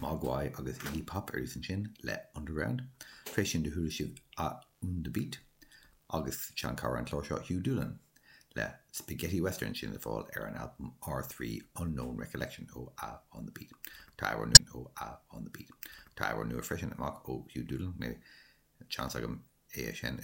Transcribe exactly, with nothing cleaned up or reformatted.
Mogwai agus Iggy Pop arís ansin le Underground. Tar éis sin do chuala sibh A on the Beat agus seanchara an chláir seo Hugh Doolan le Spaghetti Western sin le fáil ar an albam R three Unknown Recollection ó A on the Beat. Tá amhrán ó A on the Beat. Tá amhrán nua freisin amach ó Hugh Doolan mé seans agam é sin i